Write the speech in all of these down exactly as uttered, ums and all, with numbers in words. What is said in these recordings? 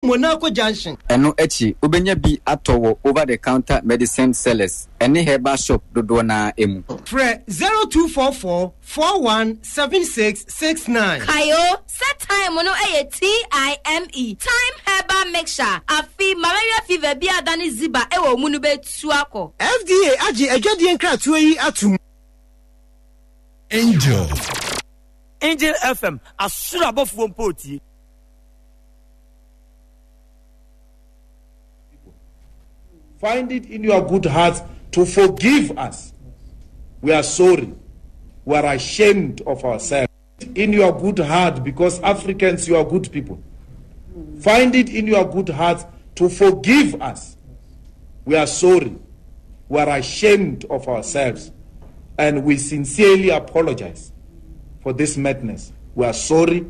Monaco Junction. Ɛno akyi, wobɛnya bi atɔ wɔ over the counter medicine sellers ne herbal shop dodoɔ no ara mu. Frɛ zero two four four four one seven six six nine. Kae o sɛ thyme no yɛ T I M E, Thyme Herbal Mixture. Afe, malaria fever bi a adane ziba wɔ wo mu no bɛtu akɔ. F D A agye adwadie nkratoɔ yi atom. Angel. Angel F M, asoro abɔfoɔ mpo tie. Find it in your good hearts to forgive us. We are sorry. We are ashamed of ourselves. In your good heart, because Africans, you are good people. Find it in your good hearts to forgive us. We are sorry. We are ashamed of ourselves. And we sincerely apologize for this madness. We are sorry.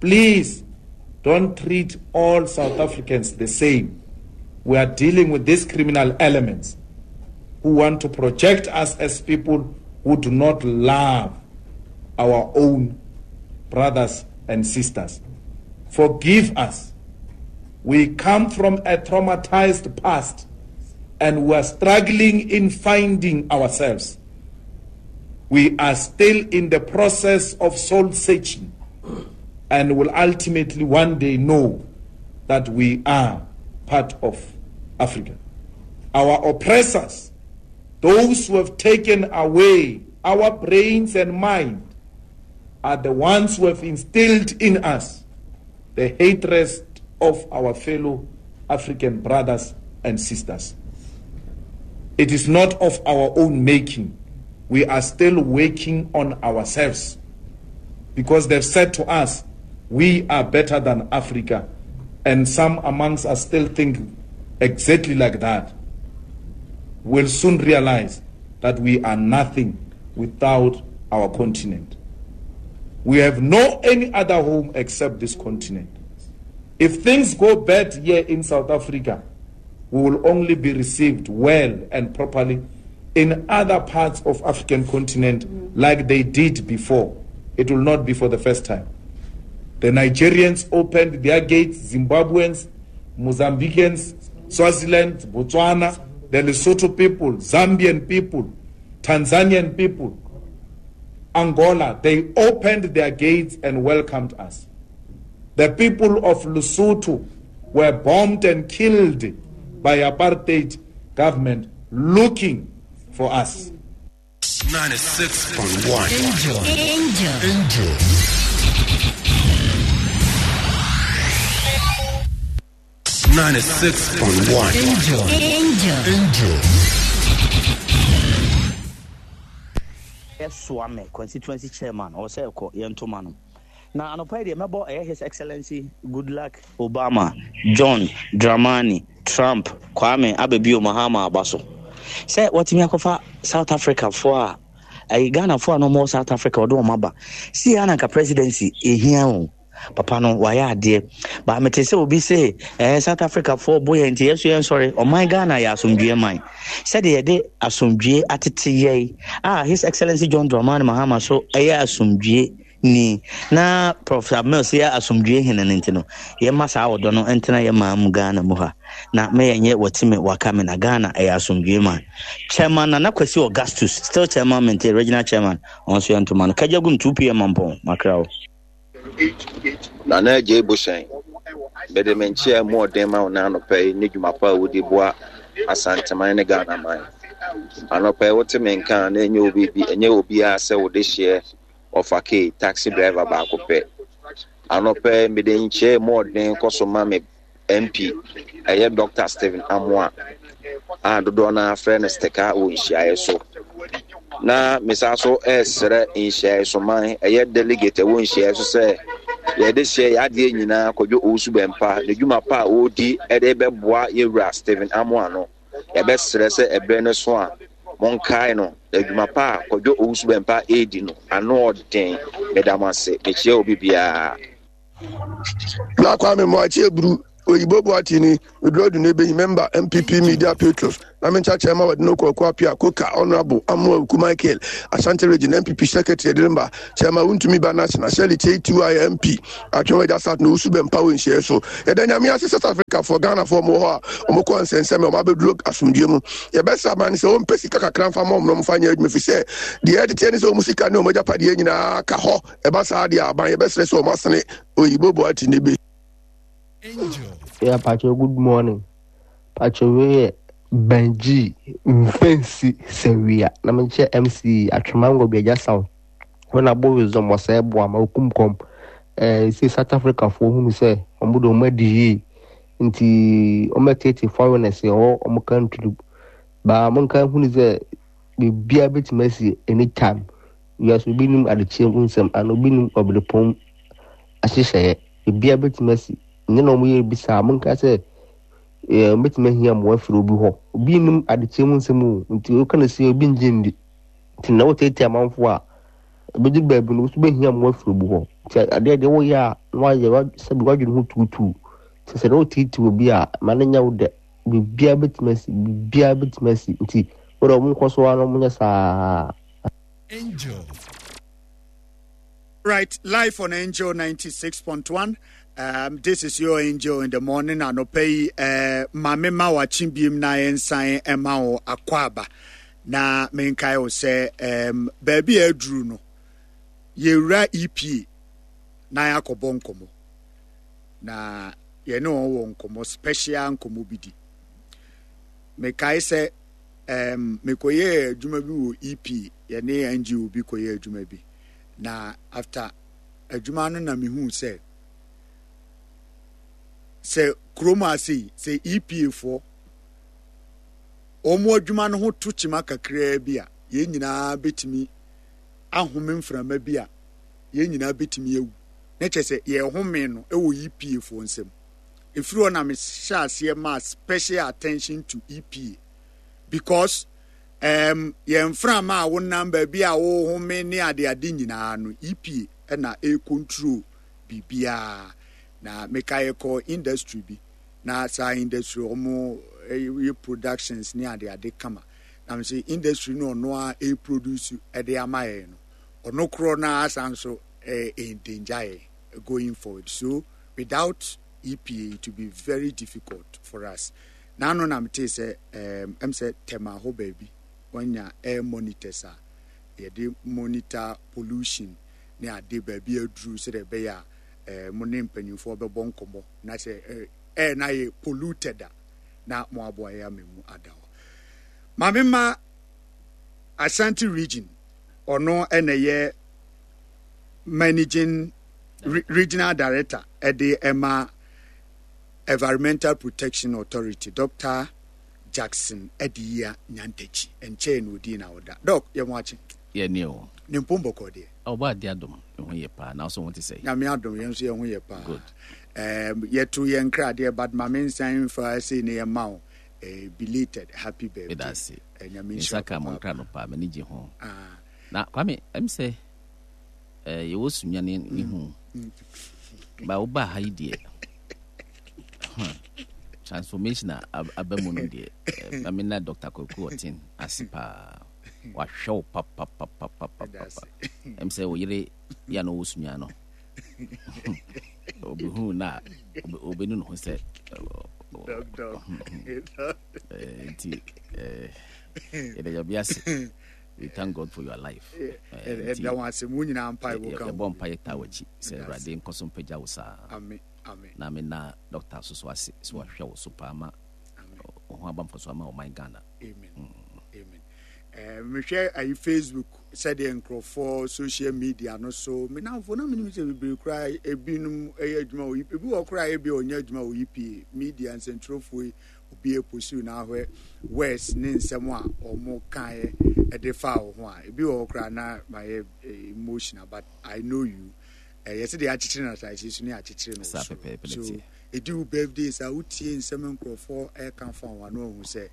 Please don't treat all South Africans the same. We are dealing with these criminal elements who want to project us as people who do not love our own brothers and sisters. Forgive us. We come from a traumatized past and we are struggling in finding ourselves. We are still in the process of soul searching and will ultimately one day know that we are part of Africa. Our oppressors, those who have taken away our brains and mind, are the ones who have instilled in us the hatred of our fellow African brothers and sisters. It is not of our own making. We are still working on ourselves because they've said to us, we are better than Africa. And some amongst us still think exactly like that. We'll soon realize that we are nothing without our continent. We have no any other home except this continent. If things go bad here in South Africa, we will only be received well and properly in other parts of African continent like they did before. It will not be for the first time. The Nigerians opened their gates, Zimbabweans, Mozambicans, Swaziland, Botswana, the Lesotho people, Zambian people, Tanzanian people, Angola, they opened their gates and welcomed us. The people of Lesotho were bombed and killed by apartheid government looking for us. ninety-six point one. Angel. Angel. Angel. ninety-six point one. Angel. Angel. Angel. Suame constituency chairman ɔwɔ sɛ ɛkɔ yɛn ntoma no na anɔpa yi deɛ mɛbɔ ɛyɛ His Excellency Goodluck Obama John Dramani Trump Kwame Abebio Mahama aba so sɛ wɔtumi akɔfa South Africa foɔ a ɛyɛ Ghanafoɔ a na wɔwɔ South Africa, ɔde wɔn aba si yɛ ananka presidency ehia o. Papa no wayɛ adeɛ ba mete sɛ obi sɛ ɛɛ South Africa foɔ bo yɛn nti yɛso yɛn sɔre. Ɔman Ghana yɛ asomdwie man sɛdeɛ yɛde asomdwie atete yɛn a His Excellency John Dramani Mahama so ɛyɛ asomdwie ni na Professor Mills yɛ asomdwie hene no nti no yɛma saa ɔdɔ no ntena yɛ maa mu Ghana mu ha na mɛyɛnyɛ wɔteme waka me na Ghana ɛyɛ asomdwie man. Chairman Nana Kwasi Augustus, still chairman mente regional chairman, ɔno nso yɛ ntoma no kagya gum two p m mampɔn makra wo. Nana Agye Bohyɛn, mede me nkyea mu ɔden ma wo na anɔpa yi ne dwuma pa a wodi boa Asanteman ne Ghana man. Anɔpa yi wote me nka a na ɛnyɛ obi bi, ɛnyɛ obiara sɛ wode hyeɛ ɔfa kei taxi driver baako pɛ. Anɔpa yi mede nkyea mu ɔden kɔ so ma me M P, ɛyɛ Doctor Stephen Amoa a dodoɔ no afrɛ no Stika wɔ nhyiaeɛ so. Na mesa so ɛresrɛ nhyiaeɛ so man, ɛyɛ delegate ɛwɔ nhyiaeɛ so sɛ yɛde hyɛ yɛ adeɛ nyinaa Kwadwo Owusu Bɛmpa ne dwuma pa a ɔredi ɛde bɛboa yɛwura Stephen Amoa no. Yɛbɛsrɛ sɛ ɛberɛ no so a monkae no adwuma pa a Kwadwo Owusu Bɛmpa ɛredi no ano ɔden. Meda mo ase, mekyia obi biara. Na Kwame Mmoakye Eburu Oyibo Boatini Odrodu Nebe member M P P Media Patrons na mencha chairman wadi no Kwaku Apia Koka Honorable Amoa Ku Michael Ashanti Region M P P Secretary Edrimba Chairman Wuntumi ba National Shelley T two I M P Atwewa Jasat no usu bempa we nhye so yeda nyame ase South Africa for Ghana for mo ho a omokọ nsensem o mabeduro asomdwe mu ye besa man se o mpesi kakakra mfa mom no mfa nya adwuma fi se de edite ne se o musika ne o magyapade nyina ka ho eba saa de aban ye besere se o masene Oyibo Boatini be. Angel. Yeah, Pacho, good morning. Pacho, we Benji Mfensi Sewia. Na menche M C Atwemango bi agya sound. When abo wisdom was e bo ama okumkom. Eh, see South Africa for who say omo do ma di nti omo tete foreigners o omo country. Ba mon kan hu say bibia betimi asi anytime. Yes, obi nim adeche nsem and obi nim oblepom ahyehyɛ. Bibia betimi asi ne na omo ye bisa mon ka say eh betimi hia mo afiri obi ho. Obi nim adeche nsem o nti o kana say obi nje ndi. Nti na wo tete amanfo a obi ba bi no so be hia mo afiri obi ho. Nti ade de wo ya na wa ye sabi wadwene ho tutu. Nti se no tete obi a ma ne nya wo de bibia betimi asi bibia betimi asi nti wo do mo nkoso ano mo nya saa. Angel. Right, live on Angel ninety-six point one. Um, this is your Angel in the morning. Anope eh mame ma wachimbiem na ensan ema wo akwaba. Na menkai wo se um baabi aduru no yewura E P na yakobɔ nkomo. Na ye ne wo nkomo special nkomo bidi. Mekai se um mekoye adwuma bi wo E P ye ne N G O bi koye adwuma bi. Na after adwuma no na mehu se se kroma sei se E P A four omo adwuma no ho to chima kakra bi a ye nyina betimi ahome mframa bi a ye nyina betimi ewu na che se ye home no e wo E P A four nsem efiri na me hye ma special attention to E P A because um ye mframa a wo number bi a wo home ne ade ade nyina no E P A na e control bibia na mekaye ko industry bi na sa industry omo e productions ni ade ade kama na me say industry no no a e produce e de amaye no ono kro na asanso e endanger going forward. So without E P A it will be very difficult for us. Na no na me say um em say tema ho baby onya air monitors a ye de monitor pollution ni ade baby aduru se de be ya eh mo ne mpanyimfo be bon komo na se eh na ye polluted na mo aboa ya memu adawo mame ma Ashanti region ono ene ye managing re, regional director at the Emma Environmental Protection Authority, Doctor Jackson Edia Nyantechi enche no di na oda doc ye mo achi ye ni o ne mpombo ko de o ba de adom ho ye pa na so want to say na me adom ye nso ye ho ye pa. Good. Um ye to ye nkra de but ma me nsan fa say ne ye ma o belated happy birthday. That's it. Enya me saka mo nkra no pa me ni ho. Ah na kwame em say eh ye wo sunya ne ni hu ba wo ba ha yi de transformation abamu no de na me na Doctor Kwaku Otin asipa wa hwe pa pa pa pa pa pa em say wo yire ya no wo sunya no obi hu na obi nu ho se doctor eh eh eh we thank God for your life. Eh da wan se mu nyina mpa wo ka e bo mpa yeta wachi se Awurade nkoso mpagya wo saa. Amen. Amen. Na me na doctor soso ase so hwe wo so pa ma o ho abamfo so ama o man Ghana. Amen. Amen. Eh me hwe ayi Facebook said the nkrofo social media no so me na mfo na me nim se bebre kra ebinum eye adwuma o ebi wo kra ebi onya adwuma o E P A media nsentrofo obi eposu na ahwe west ne nsem a omo kan e de fa wo ho a ebi wo kra na my emotional but I know you eh yes dey achichire na sai so ne achichire no so so edu birthday sa utie nsem nkrofo e kan fa wa no hu se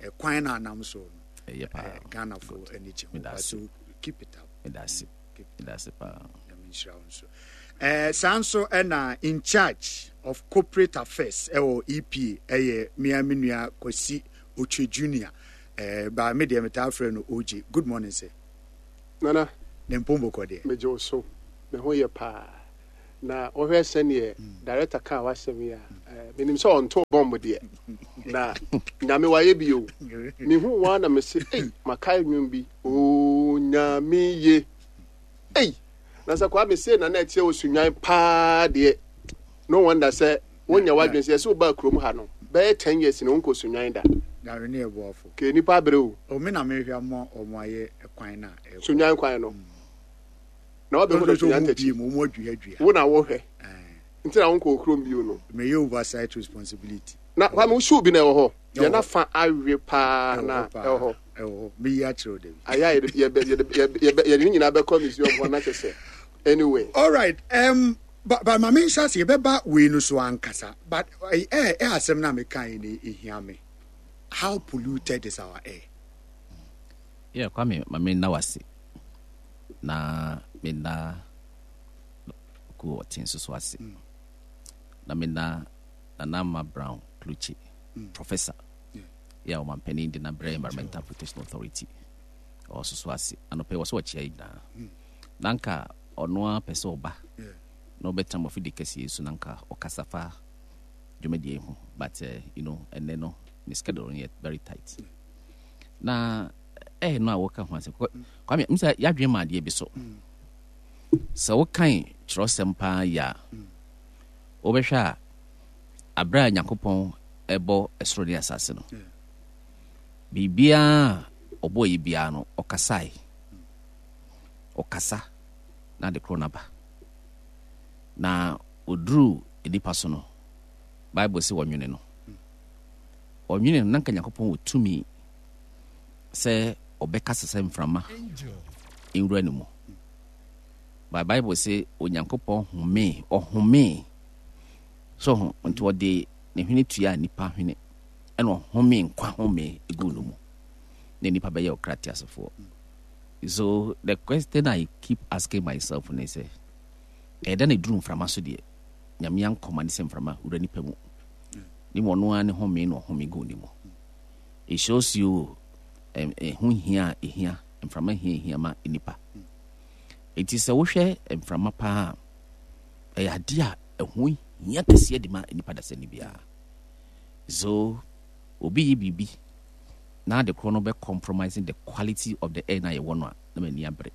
e kwan na anam so no eh pa Ghana for energy so keep it up. That's it. That's it pa. I mean so. Eh, saa nso ɛna in charge of corporate affairs ɛwɔ E P A ɛyɛ mea me nua Kwasi Otwe Junior. Eh, ba me deɛ metaa frɛ no O J. Good morning, sir. Nana. Ne mpombo deɛ. Megye wo so, me ho yɛ paa. Na wohwɛ sɛneɛ director kaa w'asɛm yi a, eh, menim sɛ ɔnto bɔmb deɛ, na Nyame wayɛ bi o. Mehu wa na mese, ei, makae nnwom bi o, Nyame ye. Ei, na sɛ Kwame sei na na ɛteɛ wɔ Sunwan paa deɛ, no wonder sɛ wonya w'adwene sɛ yɛsɛ wobaa kurom ha no bɛyɛ ten years na wonkɔ Sunwan da. Nyame ne ɛboafo. Ke nipa abrɛ o. O, me na mehwɛ ama ɔmo ayɛ kwan na ɛkɔ. Sunwan kwan no na wabɛhu no Sunwan takyi. Mu ɔmo aduadua. Wo na wohwɛ nti na wonkɔ kurom bio no. Meyɛ oversight responsibility. Na Kwame, wo shoe bi na ɛwɔ hɔ deɛ na fa awe paa na ɛwɔ hɔ. Ɛwɔ hɔ, meyi akyerɛ wo dabi. Ayɛ a yɛde yɛbɛ yɛde yɛbɛ yɛde ne nyinaa bɛkɔ museum hɔ na kyɛ sɛ anyway. All right, um, but, but ma menhyɛ ase, yɛbɛba wei no so ankasa, but ɛ ɛ asɛm no a meka yi no ɛhia me. How polluted is our air? Yeah, Kwame, ma menna wase na menna ku ɔte nso so ase mm. na menna Nana Ama Brown Klutse mm. professor yeah, ɔmampanin de nabrɛ Environmental Protection Authority ɔwɔ so so ase. Anɔpɛ wɔ sɛ wɔkyea yi nyinaa mm. na nka ɔno ara pɛ sɛ ɔba na ɔbɛtena mɔfidi kɛseɛ so na nka ɔkasa fa dwumadie ho, but uh, you know ɛnɛ no ne schedule no yɛ very tight. Na ɛyɛ no a wɔka ho asɛm, Kwame, m sɛ yɛadwene ma adeɛ bi so sɛ wokan kyerɛwsɛm paa yi a, wobɛhwɛ a, aberɛ a Nyankopɔn ɛbɔ ɛsoro ne asase no, biribiaa ɔbɔɔ yi biara no, ɔkasae. Ɔkasa na ade korɔ no aba. Na ɔduruu nipa so no, Bible sɛ wɔnwene no, ɔnwene no na nka Nyankopɔn wɔ tumi sɛ ɔbɛkasa sɛ mframa nwura no mu. But Bible sɛ Onyankopɔn homee, ɔhomee so ho nti ɔde ne hwene tua nipa hwene, ɛna ɔhome nkwa home egu no mu na nipa bɛyɛ ɔkra teasefoɔ. So the question I keep asking myself ne sɛ, ɛyɛ dɛ na eduru mframa so deɛ, Nyame ankɔma ne sɛ mframa wura nipa mu ne mu, ɔno ara ne home na ɔhome gu ne mu. It shows you ɛho hia a ehia mframa, hia ehia ma nipa. Eti sɛ wohwɛ mframa paa, ɛyɛ adeɛ a ɛho hia kɛseɛ de ma nipa dasani biara. So obi yi biribi na ade korɔ no bɛ compromising the quality of the air na yɛwɔ no a, na m'ani abere,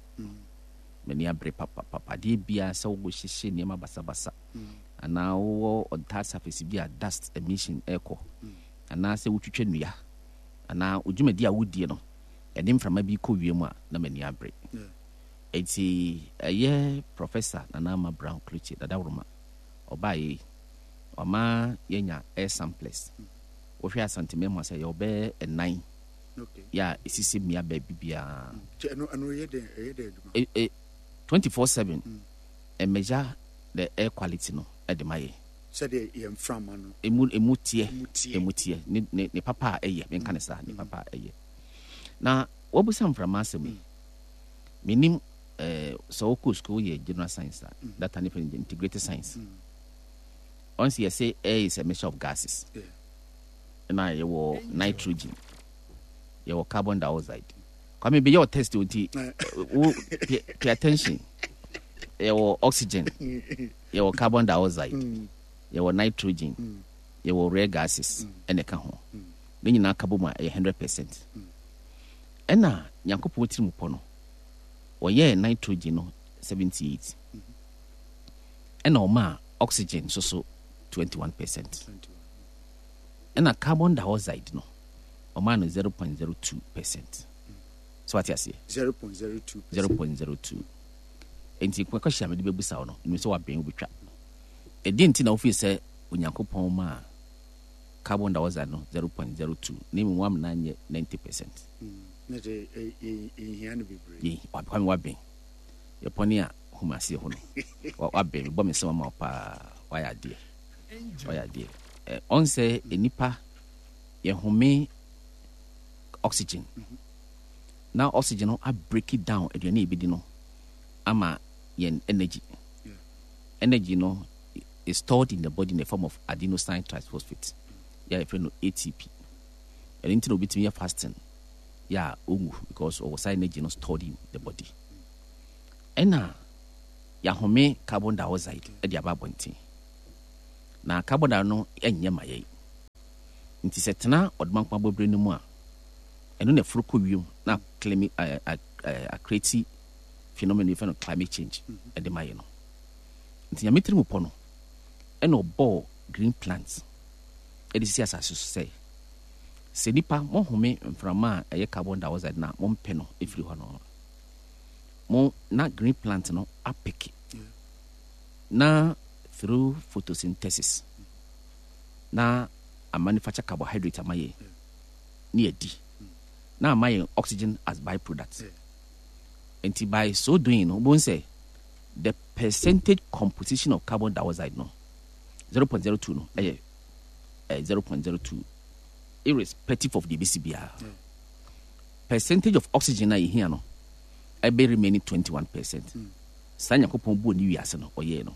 m'ani abere papapapa. Adeɛ biara sɛ wɔhyehyɛ nneɛma basabasa anaa wowɔ on hard surface bi a dust emission ɛrekɔ, anaasɛ wotwitwa nnua anaa odwumadi a wodie no ɛde mframa bi kɔ wiem a, na m'ani abere. Eti ɛyɛ Professor Nana Ama Brown Klutse Dadaworoma ɔbaa yi, ɔma yɛnya air samplers. Wohwɛ Asanteman mu a, sɛ yɛwɔ bɛyɛ ɛnan yɛ a ɛsisi mmea baabi biara. twenty four seven ɛmɛgya the air quality no ɛde ma yɛ. Sɛdeɛ yɛn mframa no. Emu emu teɛ, emu teɛ, ne ne ne papa a ɛyɛ, menka ne saa, ne papa a ɛyɛ. Na wɔbusa mframa asɛm yi, menim ɛɛ sɛ wokɔ school yɛ general science a, data ne fɛ integrated science. Ɔn sɛ yɛsɛ air is a mixture of gases. Ɛna yɛwɔ nitrogen, yɛwɔ carbon dioxide. Kwame, bɛyɛ wɔ test o, nti wo pay, pay attention. Yɛwɔ oxygen, yɛwɔ carbon dioxide, yɛwɔ nitrogen, yɛwɔ rare gases ɛna ɛka ho. Ne nyinaa ka bɔ mu a, ɛyɛ hundred percent. Ɛna Nyankopɔn tiri mu pɔ no, wɔyɛɛ nitrogen no seventy-eight, ɛna ɔmaa oxygen nso so twenty-one percent, ɛna carbon dioxide no ɔmaa no zero point zero two percent. So wate aseɛ? zero point zero two. zero point zero two. Nti question a mede bɛbusa wo no, nim sɛ wabɛn wobɛtwa ɛdeɛ nti na wofii sɛ Onyankopɔn ma carbon dioxide no zero point zero two na mmom wamena nyɛ ninety percent? Na kyɛ ɛhia no bebree. Kwame, wabɛn yɛpɔne a hum aseɛ hɔ no, wabɛn. Mebɔ me nsɛm ama wo paa, wayɛ adeɛ, wayɛ adeɛ. Ɔn sɛ nnipa yɛhome oxygen na oxygen no a break it down aduane a yɛbɛdi no ama yɛn energy. Energy no is stored in the body in the form of adenosine triphosphate, yɛ a yɛfrɛ no A T P. Ɛno nti na obitumi yɛ fasting yɛ a ɔnwu, because ɔwɔ saa energy no stored in the body. Ɛna yɛahome carbon dioxide de aba abɔnten, na carbon dioxide no ɛnyɛ ma yɛn. Nti sɛ tena ɔdomankoma bɔberɛ no mu a, ɛno na ɛforo kɔ wiem na climate acreate phenomenon yɛfrɛ no climate change ɛde ma yɛ no. Nti Nyame tiri mu pɔ no, ɛna ɔbɔɔ green plants ɛde sisi asase so sɛ sɛ nipa mohome mframa a ɛyɛ carbon dioxide na mompɛ no ɛfiri hɔ no mo na green plant no apick na through photosynthesis na amanufacture carbohydrate ama yɛ ne yɛdi na ama yɛn oxygen as byproduct. Nti by so doing no, wobɛhu sɛ the percentage composition of carbon dioxide no zero point zero two no ɛyɛ eh, zero point zero two irrespective of deɛ ɛbɛsi biara. Percentage of oxygen a yɛhia no ɛbɛ remaining twenty-one percent. Saa Nyankopɔn buo ne wiase no ɔyɛɛ no.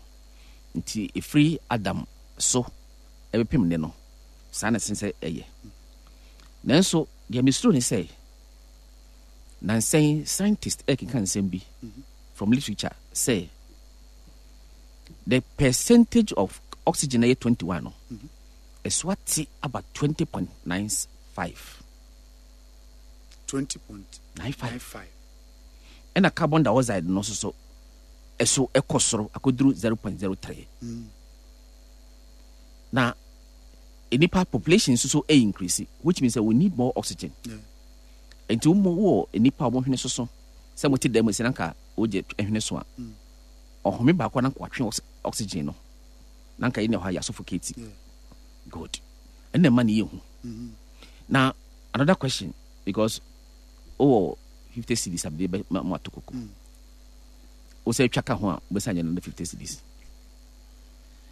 Nti ɛfiri Adam so ɛbɛpem ne no, saa na ɛsen sɛ ɛyɛ. Nanso deɛ mesuro ne sɛ nansɛn scientist ɛkeka nsɛm bi from literature sɛ the percentage of oxygen ɛyɛ twenty-one no, ɛso ate aba twenty point nine five. twenty point nine five. Ɛna carbon dioxide no nso so ɛso ɛkɔ soro akɔduru zero point zero three. Mm. Na nipa population nso so ɛyɛ increase, which means that we need more oxygen. Yeah. Nti wɔn wɔ nipa a wɔn hwene soso sɛ mo te dan mu sɛ nanka wogye hwene so a, Mm. ɔhome baako a nanka watwe ox- oxygen no, nanka yi na ɛhɔ a yɛ suffocate. Yeah. Good, ɛnna ɛma ne yɛ hu. Mhm. Na another question, because wowɔ fifty cedis a mede bɛ ma mo ato koko Mm. wo sɛ atwa ka ho a, wobɛsa nyɛ no fifty cedis.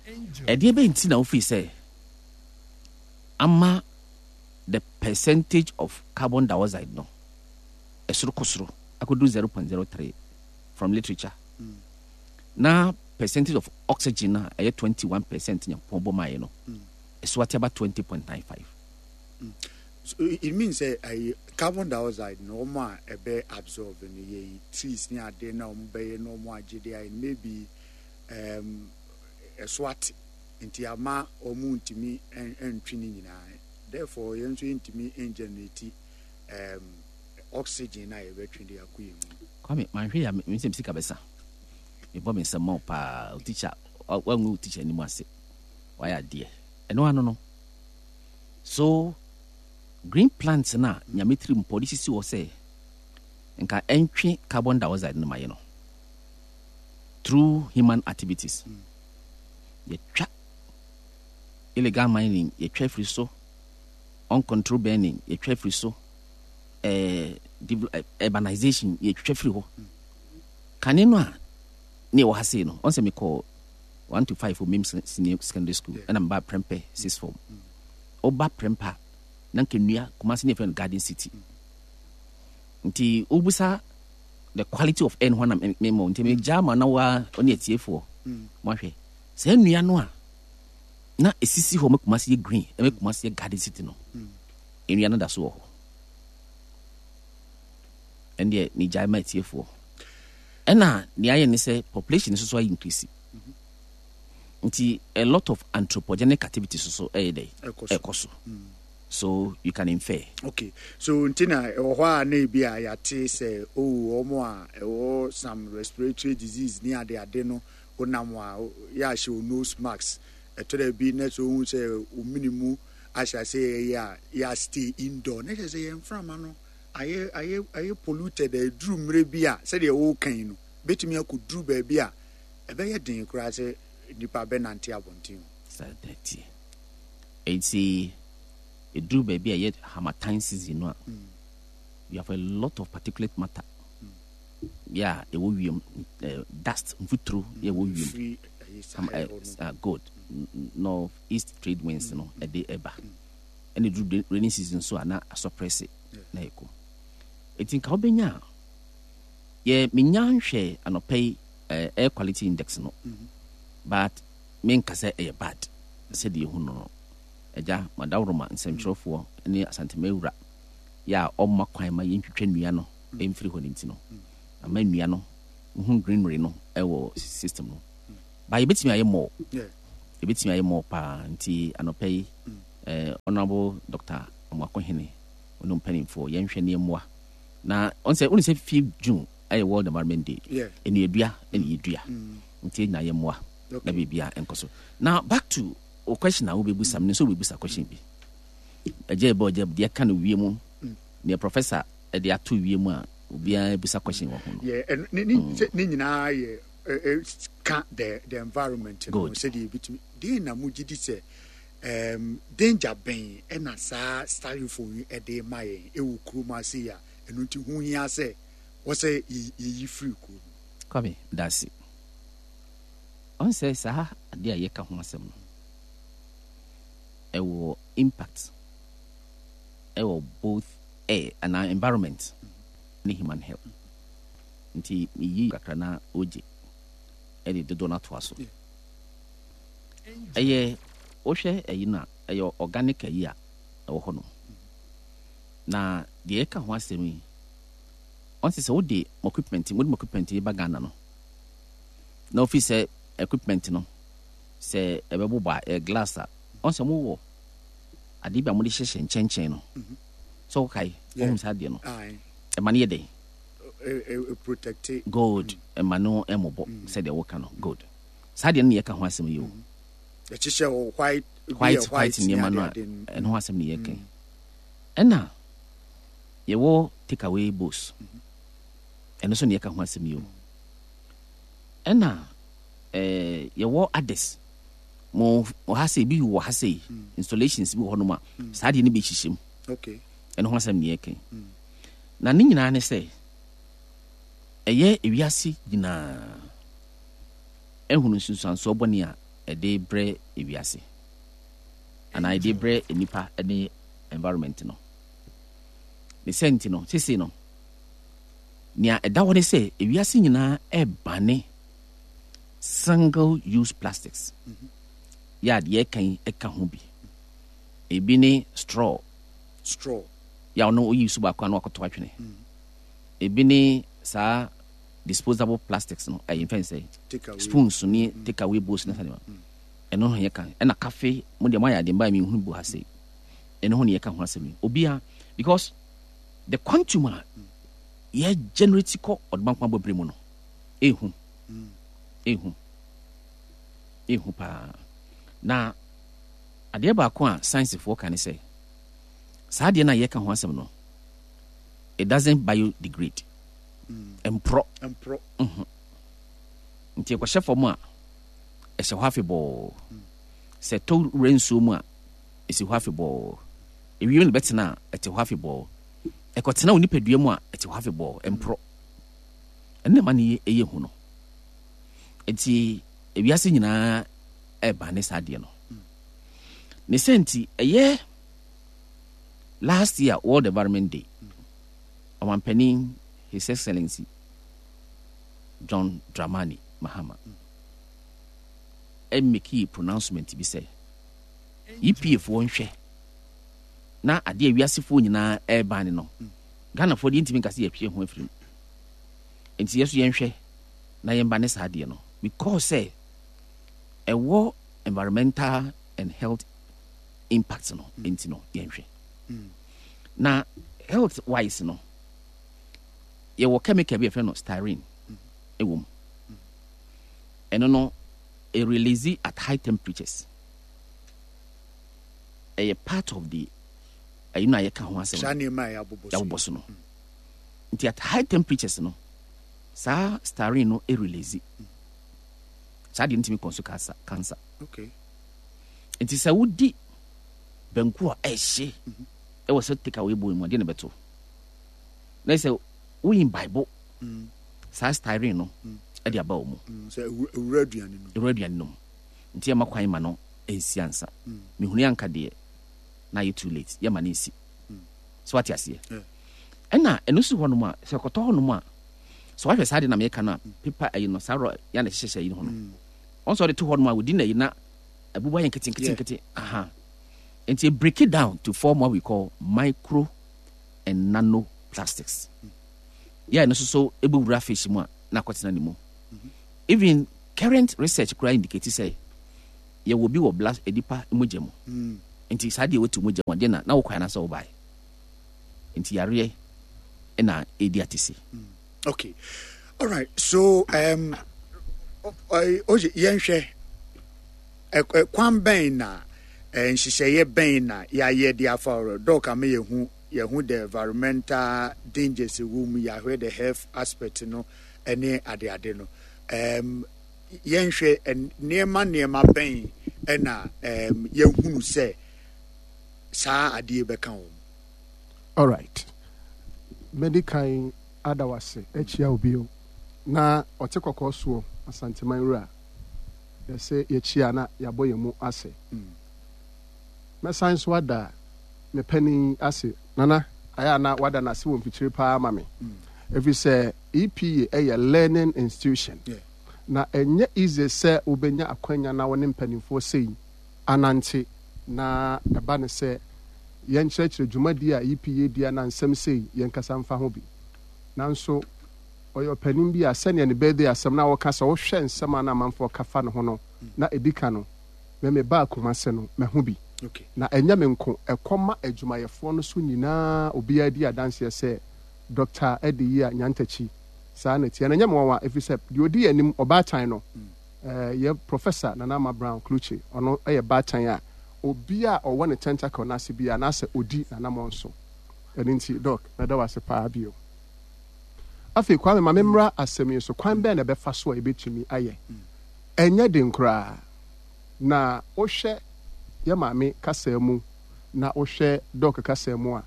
Ɛdeɛ bɛn nti na wofii sɛ ama the percentage of carbon dioxide no ɛsoro kɔ soro akɔduru zero point zero three from literature, Mm. na percentage of oxygen a ɛyɛ twenty-one percent Nyankopɔn bɔ maayɛ no Mm. ɛso ate aba twenty point nine five? So it means sɛ uh, carbon dioxide no, wɔn a ɛbɛ absorb no yɛ trees ne ade na wɔn bɛyɛ na wɔn agye de ayɛ no, maybe um, ɛso ate nti ama wɔn ntumi ntwi ne nyinaa. Therefore yɛn nso yɛntumi ngenerate um, oxygen na yɛbɛtwe de akɔ yɛn mu. Kwame, manhwɛ yɛ a, me nsɛm sika bɛsa. Mebɔ me nsɛm ma wo paa. Wo teacher wangu, wo teacher anim ase, wayɛ adeɛ. Ɛno ano no so green plants no a Nyame tiri mpɔ de sisi hɔ sɛ nka ɛntwe carbon dioxide no ma yɛ no, through human activities yɛtwa, illegal mining yɛtwa afiri so, uncontrolled burning yɛtwa afiri so, eh, eh, urbanization yɛtwitwa firi hɔ. Kane no a ne ɛwɔ ha sei no, ɔn sɛ mekɔ one to five wɔ Mim Senior Secondary School, ɛna meba Prempeh six form. Woba Prempeh a, na nka nnua. Kumase ne yɛfrɛ no Garden City. Nti wobusa the quality of air no ho na memmɔ nti megyaa ma na wa ɔne atiefoɔ mohwɛ saa nnua no a na ɛsisi hɔ ma Kumase yɛ green, ɛmɛ Kumase yɛ Garden City no, nnua no da so wɔ hɔ. Ɛndeɛ megyae ma atiefoɔ. Ɛna nea ayɛ ne sɛ population nso so ayɛ increase, nti a lot of anthropogenic activities so ɛyɛ dɛ ɛkɔ so, so you can infer. Okay, so nti na ɛwɔ hɔ a na ebi a yɛate sɛ oh, wɔn a ɛwɔ some respiratory disease ne ade ade no, wonam a yɛ ahyɛ o nose mask. Ɛtɔ dɛ bi na sɛ ohun sɛ omini mu ahyɛ ase yɛ a yɛ stay indoor na kyerɛ sɛ yɛn mframa no ayɛ ayɛ ayɛ polluted. A eduru mmerɛ bi a, sɛdeɛ wɔrekan no, betumi akɔduru baabi a ɛbɛyɛ den koraa sɛ nipa bɛnante abɔnten o. Saa dɛteɛ eti eduru baabi a ɛyɛ harmattan season no a, we have a lot of particulate matter yɛ a ɛwɔ wiem, eh, dust, mfuturo yɛ ɛwɔ wiem. Firi ɛyɛ Sahel hɔ no. uh, good north east trade winds no ɛde ɛba. Ɛna eduru rainy season so a, na asɔprɛse na ɛkɔ. Eti nka wobɛnya a yɛ menya nhwɛ anɔpɛ yi eh, air quality index no. But menka sɛ ɛyɛ bad sɛdeɛ ɛhu no no. Agya, Madaworoma nsɛmtwerɛfoɔ ne Asantema wura yɛ a ɔmma kwan ma yɛntwitwa nnua no mfiri hɔ no nti no, ama nnua no, wohu greenery no wɔ system no. Ba yɛbɛtumi ayɛ more. Yɛbɛtumi ayɛ more paa. Nti anɔpa yi, eh, Honorable Doctor Amoakohene, ɔne mpanimfoɔ, yɛnhwɛ ne mmoa. Na ɔn sɛ, wone sɛ fifth June ɛyɛ World Environment Day. Nnuadua ɛne yɛdua. Nti yɛnyina yɛ mmoa na biribia ɛnkɔ so. Now back to o question a wobɛbusa, menim sɛ wobɛbusa question bi. Ɛgya ɛbɔ ɛgya deɛ ɛka no wie mu, deɛ professor ɛde ato wie mu a obiara bisa question wɔ ho no. Yeah, ɛno ne ne sɛ ne nyinaa yɛ ɛ ɛ ka the the environment no sɛdeɛ ebitumi deɛ na mo gye di sɛ um, danger bɛn ɛna saa styrofoam yi ɛde ma yɛn ɛwɔ kurom ase yi a ɛno nti ho hia sɛ wɔsɛ yɛyi firi kurom. Kwame, dase. Ɔn sɛ saa adeɛ a yɛka ho asɛm no ɛwɔ impact ɛwɔ both air anaa environment ne human health. Nti meyi kakra na ogye ɛde dodoɔ no atoa so. Ɛyɛ wohwɛ ɛyi no a ɛyɛ organic ayi a ɛwɔ hɔ nom. Na deɛ yɛka ho asɛm yi, ɔn sɛ sɛ wode mo equipment, wode mo equipment yi ba Ghana no, na ofi sɛ equipment no sɛ ɛbɛbobɔ a ɛyɛ glass a, ɔn sɛ mowɔ adeɛ bi a mode hyehyɛ nkyɛnkyɛn no. Sɛ wokae, wohu saa adeɛ no. Ɛma no yɛ dɛn? Protect. Good. Ɛma no ɛmmobɔ sɛdeɛ woka no. Good. Saa adeɛ no na yɛka ho asɛm yi o. Ɛhyehyɛ wɔ white, white white nneɛma no a ɛno ho asɛm na yɛka yi. Ɛna yɛwɔ take away bowls. Ɛno nso na yɛka ho asɛm yi o. Ɛna ɛɛ yɛwɔ others. Mo wɔ ha sɛ ebi wɔ ha sɛ installations bi wɔ hɔnom a saa adeɛ no bi hyehyɛ mu. Okay. Ɛno ho asɛm na yɛka yi. Na ne nyinaa ne sɛ ɛyɛ ewiase nyinaa ehunu nsunsuansoɔ bɔne a ɛde brɛ ewiase anaa ɛde brɛ nnipa ne environment no. Ne sɛ nti no, sese no, nea ɛda hɔ ne sɛ ewiase nyinaa ɛbane single use plastics. Yɛ a deɛ ɛka yi ɛka ho bi. Ebi ne straw. Straw. Yɛ a ɔno oyi so baako a na wakɔto atwene. Ebi ne saa disposable plastics no, ɛyɛ mfɛn sɛ spoons ne take away bowls ne saa nneɛma. Ɛno ho yɛ ka. Ɛna cafe mo deɛ mo ayɛ adeɛ mba mi nhunu bu ha sei. Ɛno ho ne yɛka ho asɛm yi. Obia because the quantum a yɛ generate kɔ ɔdomankoma bɔbere mu no, ehu. Ehu. Ehu paa. Na adeɛ baako a sciencefoɔ ka ne sɛ saa adeɛ no a yɛka ho asɛm no, it doesn't biodegrade. Mporɔ. Mporɔ. Mhm. Nti ɛkɔhyɛ fam a, ɛhyɛ hɔ afebɔɔ. Sɛ ɛtɔ wura nsuo mu a, ɛsi hɔ afebɔɔ. Ewiem na ɛbɛtena a, ɛte hɔ afebɔɔ. Ɛkɔtena wo nipadua mu a, ɛte hɔ afebɔɔ. Mporɔ. Ɛno na ɛma no yɛ hu no. Nti ewiase nyinaa ɛba ne saa adeɛ no. Ne sɛ nti ɛyɛ last year World Environment Day, ɔmampanin His Excellency John Dramani Mahama ɛmɛkii pronouncement bi sɛ E P A foɔ nhwɛ na adeɛ a wiasefoɔ nyinaa ɛreban ne no, Ghanafoɔ deɛ ntumi nka sɛ yɛtwe ho afiri mu. Nti yɛ so yɛnhwɛ na yɛmba ne saa adeɛ no because sɛ ɛwɔ environmental and health impact no nti no yɛnhwɛ. Na health wise no, yɛwɔ chemical bi yɛfrɛ no styrene ɛwɔ mu. Ɛno no, it release at high temperatures. Ɛyɛ part of the ɛyi no a yɛka ho asɛm Saa nneɛma a yɛabobɔ so. Yɛabobɔ so no. Nti at high temperatures no, saa styrene no release. Saa deɛ no tumi kɔ nso cancer, cancer. Okay. Nti sɛ wodi banku a ɛhye ɛwɔ sɛ take away bowl mu a, deɛ na ɛbɛto. Na sɛ woyi Bible, saa styrene no ɛde aba wɔ mu. Sɛ ewura aduane no. Ewura aduane no mu. Nti ɛma kwan ma no nsi ansa. Mehunu anka deɛ na ayɛ too late, yɛma no nsi. So wate aseɛ? Ɛna ɛno si hɔnom a, sɛ kɔtɔ hɔnom a, sɛ wahwɛ saa de na meka no a, pepa ɛyi no, saa rɔ ya na ɛhyehyɛ yi ho no, Wɔn sɛ ɔde to hɔ nom a within ayi na abubu ayɛ nketenkete aha. Nti break it down to form what we call micro and nano plastics. Yɛ ɛno nso so ɛbɛwura fish mu a na akɔtena ne mu. Even current research koraa indicate sɛ yɛwɔ bi wɔ blood nipa mogya mu. Mm. Nti saa deɛ wɔtu mogya mu adeɛ na na wokɔ anaasɛ wobae. Nti yareɛ na ɛdi atese. Mm. Okay. All right. So um oye yɛnhwɛ kwan bɛn na nhyehyɛeɛ bɛn na yɛayɛ de afa ɔrɔ dɔk ama yɛhu yɛhu the environmental dangers ɛwɔ mu, yɛahwɛ the health aspect no ɛne adeade no. um, yɛnhwɛ nneɛma nneɛma bɛn ɛna um, yɛhunu sɛ saa adeɛ bɛka wɔn. All right, mɛdi kan ada wase akyia obi o na ɔte kɔkɔɔ soɔ Asanteman wura, yɛsɛ yɛkyia na yɛabɔ yɛn mu ase. Mɛsan so ada me panin ase. Nana, ayɛ a na wada n'ase wɔ mfikyire paa ma me, ɛfiri sɛ E P A ɛyɛ learning institution na ɛnyɛ easy sɛ wobɛnya akwanya na wo ne mpanimfoɔ sei anante na ɛba ne sɛ yɛnkyerɛkyerɛ dwumadi a E P A di ana nsɛm sei yɛnkasa mfa ho bi. Nanso ɔyɛ ɔpanin bi a sɛnea ne birthday asɛm na wɔka sɛ wohwɛ nsɛm a na amanfoɔ ka fa ne ho no na ɛdi ka no, me me baa Kumase no mahu bi na ɛnyɛ me nko, ɛkɔ ma adwumayɛfoɔ no so nyinaa, obiara di adanseɛ sɛ Doctor Adeyia Nyantakyi saa na ɛteɛ. Na ɛnyɛ me nwanwa, ɛfiri sɛ deɛ ɔdi yɛn anim ɔbaatan no yɛ Professor Nana Ama Brown Klutse. Ɔno yɛ baatan a obi a ɔwɔ ne tentacle no ase biara anaasɛ ɔdi n'anammɔn so. Ɛno nti Doc, mɛda wo ase paa bio. Afei Kwame, ma memmra asɛm yi so. Kwan bɛn na ɛbɛfa so a yɛbɛtumi ayɛ? Ɛnyɛ den koraa. Na wohwɛ yɛ maame kasa mu na wohwɛ Doc kasa mu a,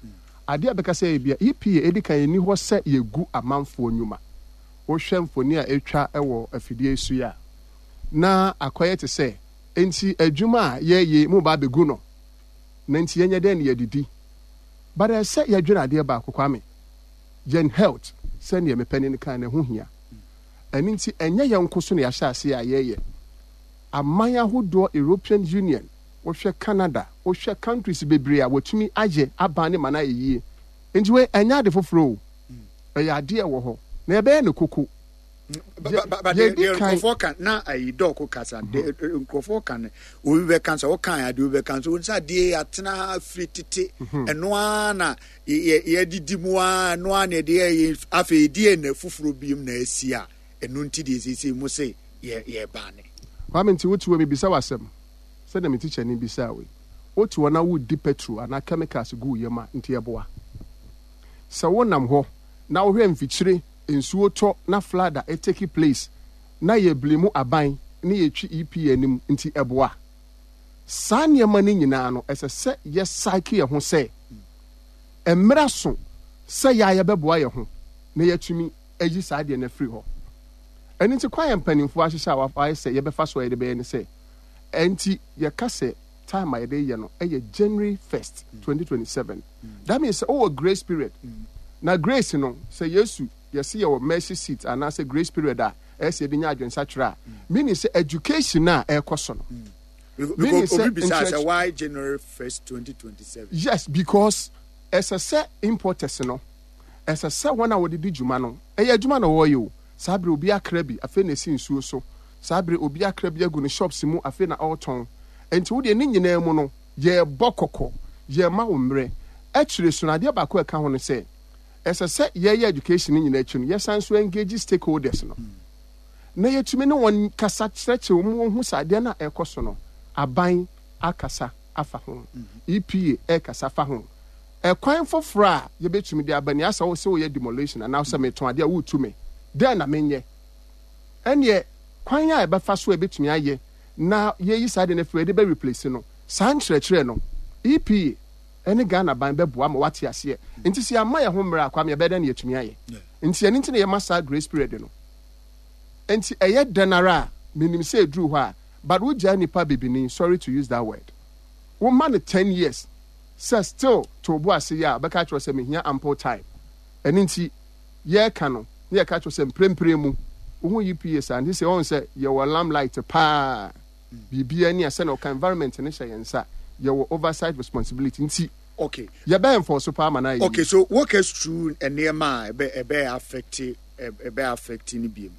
adeɛ a bɛka sɛ yɛ bia E P A ɛdi kan ɛni hɔ sɛ yɛgu amanfoɔ nnwuma. Wohwɛ mfoni a ɛtwa wɔ afidie yi so yi a, na akɔyɛ te sɛ enti adwuma a yɛyɛ mu ba abɛgu no na nti yɛnyɛ dɛn ne yɛdidi. But ɛsɛ yɛdwene adeɛ baako, Kwame, yɛn health sɛdeɛ me panin kan no ɛho hia. Ɛno nti ɛnyɛ yɛn nko so na yɛahyɛ ase a yɛyɛ. Aman ahodoɔ, European Union, wohwɛ Canada, wohwɛ countries bebree a wɔtumi ayɛ aban ne ma no ayɛ yie. Nti wei ɛnyɛ ade foforɔ o, ɛyɛ adeɛ ɛwɔ hɔ na yɛbɛyɛ no koko. Yɛdi kan nkurɔfoɔ ka na ayi dɔɔko kasa nkurɔfoɔ ka no, obi bɛka sɛ ɔka adeɛ, obi bɛka sɛ wɔn sɛ adeɛ atena ha firi tete, ɛno ara na yɛdidi mu ara, ɛno ara na yɛde yɛ. Afei deɛ na foforɔ bi mu na asi a ɛno nti deɛ siesie mu se yɛ yɛba ne. Kwame, nti wote hɔ, mebisa w'asɛm sɛdeɛ me teacher ni bisa wei. Wote hɔ na wodi petrol anaa chemicals gu wo yam a, nti ɛboa sɛ wonam hɔ na wohwɛ mfikyire nsuo tɔ na flood a ɛtake place na yɛbili mu aban ne yɛtwi E P A anim, nti ɛboa? Saa nneɛma no nyinaa no, ɛsɛ sɛ yɛsaeke yɛn ho sɛ mmerɛ so sɛ yɛa yɛbɛboa yɛn ho na yɛatumi ayi saa deɛ no afiri hɔ. Ɛno nti kwan yɛ mpanimfoɔ ahyehyɛ a wayɛ sɛ yɛbɛfa so a yɛde bɛyɛ ne sɛ, ɛnti yɛka sɛ time a yɛde yɛ no ɛyɛ January first twenty twenty-seven. That means sɛ wowɔ grace period na grace no sɛ Yesu yɛse yɛwɔ mercy seat anaasɛ grace period a ɛyɛ sɛ yɛde nya adwensakyerɛ a, meaning sɛ education a ɛrekɔ so no, meaning sɛ obi bisa sɛ why January first twenty twenty-seven? Yes, because ɛsɛ sɛ importers no, ɛsɛ sɛ wɔn a wɔde di dwuma no, ɛyɛ adwuma na wɔreyɛ o. Saa bere obi akra bi afei na esi nsuo so, saa bere obi akra bi agu ne shops mu afei na ɔretɔn. Nti wo deɛ ne nyinaa mu no yɛrebɔ kɔkɔ, yɛrema wo mmerɛ akyire so no. Adeɛ baako a ɛka ho no sɛ ɛsɛ sɛ yɛyɛ education no nyinaa akyi no, yɛsan so engage stakeholders no na yɛtumi ne wɔn kasa kyerɛkyerɛ wɔn, wɔn ho sɛ adeɛ no a ɛrekɔ so no, aban akasa afa ho, E P A ɛrekasa fa ho. Ɛkwan foforɔ a yɛbɛtumi de aba ni asɛ wo sɛ woyɛ demolition anaa sɛ metɔn adeɛ a woretu me dɛn na menyɛ, ɛneɛ kwan a ɛbɛfa so a ɛbɛtumi ayɛ na yɛyi saa deɛ no afiri yɛde bɛ replace no. Saa nkyerɛkyerɛ no, E P A ɛne Ghana ban bɛboa ma wate aseɛ. Nti sɛ yɛama yɛn ho mmerɛ a, Kwame, ɛbɛyɛ dɛn na yɛtumi ayɛ? Nti ɛno nti na yɛma saa grace period no. Nti ɛyɛ dɛn ara a menim sɛ ɛduru hɔ a, but wogyaa nipa bibini, sorry to use that word, woma no ten years sɛ still to bo ase yɛ a, bɛka kyerɛ sɛ mehia ample time. Ɛno nti yɛreka no na yɛka kyerɛ sɛ mprempren mu Wohu E P A saa nti sɛ ɔhu sɛ yɛwɔ limelight paa, biribiara ni a sɛnea ɔka environment no hyɛ yɛn nsa, yɛwɔ oversight responsibility nti okay yɛbɛ enforce paa ma no ayɛ okay yie. So walk us through nneɛma a ɛbɛ ɛbɛ affect, ɛbɛ affect ne biem,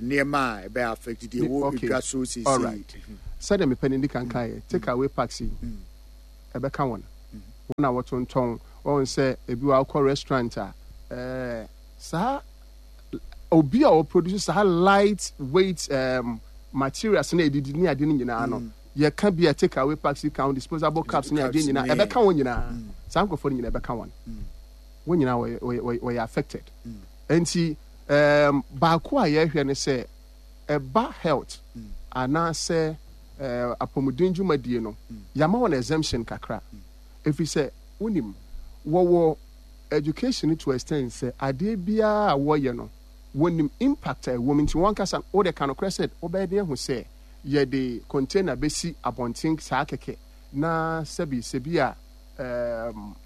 nneɛma a ɛbɛ affect deɛ ɛwɔ okay edwa so seesei. All right, sɛdeɛ mepɛ no di kan kan yɛ take away packs yi, ɛbɛka wɔn wɔn a wɔtontɔn wɔn sɛ ebi wɔ akɔ restaurant a, ɛɛ saa obi a ɔproduce saa light weight um, materials na edidi ne ade no nyinaa no, yɛka bi a take away packs yi ka ho, disposable cups ne adeɛ nyinaa ɛbɛka wɔn nyinaa. Saa nkurɔfoɔ no nyinaa ɛbɛka wɔn wɔn nyinaa wɔyɛ wɔyɛ wɔyɛ affected. Nti um, baako a yɛrehwɛ ne sɛ ɛba health anaasɛ uh, apɔmuden dwumadie no, yɛama wɔn exemption kakra, ɛfiri sɛ wonim wɔwɔ education to extend sɛ adeɛ biara a wɔyɛ no, wɔnim impact a ɛwɔ mu. Nti wɔn kasa wode ka nokorɛ sɛ wobɛyɛ den ahu sɛ yɛde container bɛsi abɔnten saa kɛkɛ na sɛbi sɛbi a um,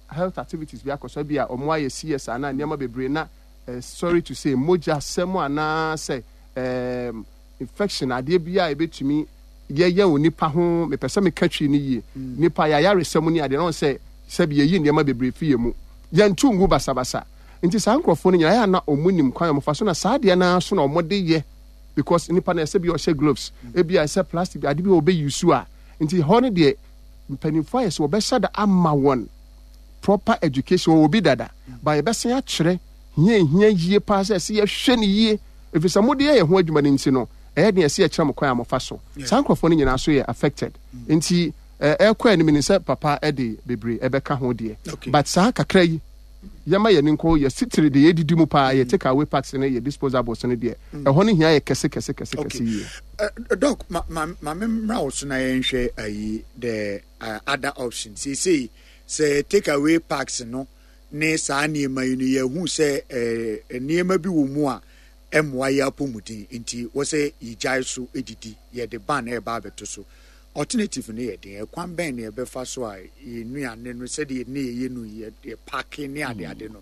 health activities bi akɔ so bi a ɔmo ayɛ C S anaa nneɛma bebree na uh, sorry to say, mogya sɛm anaasɛ um, infection adeɛ bi a ebɛtumi yɛyɛ wɔ nipa ho. Mepɛ sɛ meka twi no yie, nipa yɛayaresɛm ne adeɛ na wɔn sɛ sɛbi yɛyi nneɛma bebree fi yɛ mu, yɛnto ngu basabasa. Nti saa nkurɔfoɔ no nyinaa ɛyɛ ana ɔmo nim kwan a ɔmo fa so na saa adeɛ naa so na ɔmo de yɛ, because nipa no ɛsɛ bi a ɔhyɛ gloves, ebi a ɛsɛ plastic ade bi a ɔbɛyi su a. Nti hɔ no deɛ, mpanimfoɔ ayɛ sɛ wɔbɛhyɛ da ama wɔn proper education. Wɔwɔ bi dada ba, yɛbɛsan akyerɛ hia hia yie paa sɛ ɛsɛ yɛhwɛ no yie, ɛfiri sɛ mode yɛ yɛn ho adwuma no. Nti no ɛyɛ deɛ ɛsɛ yɛkyerɛ mo kwan a mofa so. Saa nkurɔfoɔ no nyinaa so yɛ affected. Nti ɛkɔ anim ni sɛ papa ɛde bebree ɛbɛka ho deɛ, but saa kakra yi yɛma yɛn nkɔ yɛ sitiri de yɛdidi mu paa, yɛ take away packs ne yɛ disposables no deɛ, ɛhɔ no hia yɛ kɛse kɛse kɛse kɛse yie. Doc, ma ma ma me mmra wo so na yɛnhwɛ ayi the uh, other option. Seesei sɛ take away packs no ne saa nneɛma yi no, yɛhu sɛ eh, nneɛma bi wɔ mu a ɛmmoa yɛ apɔmuden, nti wɔsɛ yɛgyae so didi, yɛde ban ɛreba abɛto so. Alternative no yɛ den, ɛkwan bɛn na yɛbɛfa so a yɛn nnuane no sɛdeɛ ne yɛyɛ no, yɛ yɛ pack ne adeade no,